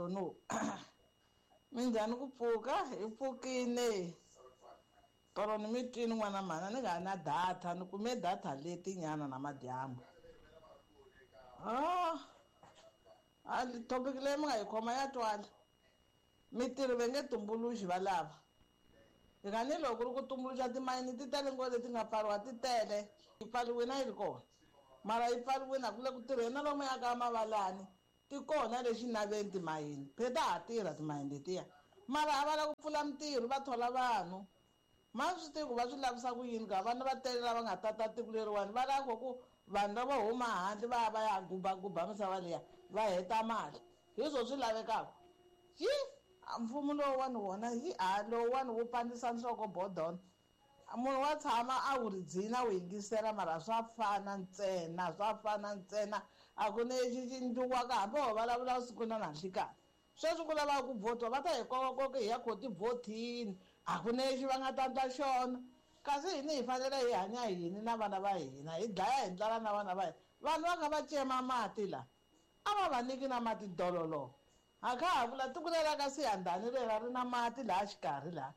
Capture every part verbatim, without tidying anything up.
don't know. Minjhani ku pfuka hi pfukile tolo ni mi twini n'wana mhana ni nga na data ni kume data leti nyana na madyambu. Ah, a topic leyi mi nga yi khoma ya twala. Mitirho va nge tumbuluxi va lava. Hi ni loko ku ri ku tumbuluxa timayini ti tele ngopfu leti nga pfariwa ti tele. Yi pfariwile a yi ri kona. Mara yi pfariwile a ku le ku tirheni na lomu ya ka mavalani ti kona le xinaveni timayini. Phela ta ha tirha timayini letiya. Mara a va lava ku pfula mitirho va thola vanhu. Ma swi tivi ku va swi lavisa ku yini ka vanhu va tele lava nga tata tiko leriwani va lava ku vanhu lava huma handle va ya va ya gubaguba misava liya va heta mali. Hi swo swi lavekaka. Yi mfumo lowuwani wona hi a lowuwani wu pandzisa nhloko bodon. Munhu wa tshama a wu ri dzina wu yingisela mara swa fana ntsena swa fana ntsena a ku na lexi xi endliwaka hambi ho vulavula siku na nanhlikani. Sweswi ku lavaka ku vhotiwa va ta hi kokakoka hi ya kho tivhotini a ku na lexi va nga ta endla xona. Kasi hina hi fanele hi hanya yini na vana va hina hi dlaya hi ndlala na vana va hina. Vanhu va kha va cema mati la a va va nyiki na mati dololo. A kha ha vula tiko leri ka Siyandhani rera ri na mati laha xikarhi laha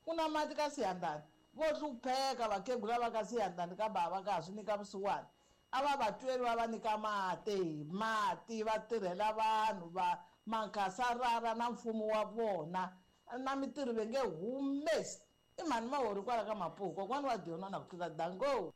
ku na mati ka Siyandhani. Vo hlupheka vakhegula va ka Siyandhani ka bava ka ha swi nyika vusiwana. A va va tweli va va nyika mati mati va tirhela vanhu va mankasarara na mfumo wa vona na mitirho va nge humesi. I mhani Mahori kwala ka Mapuku kokwani wa Diona na ku tlula dango.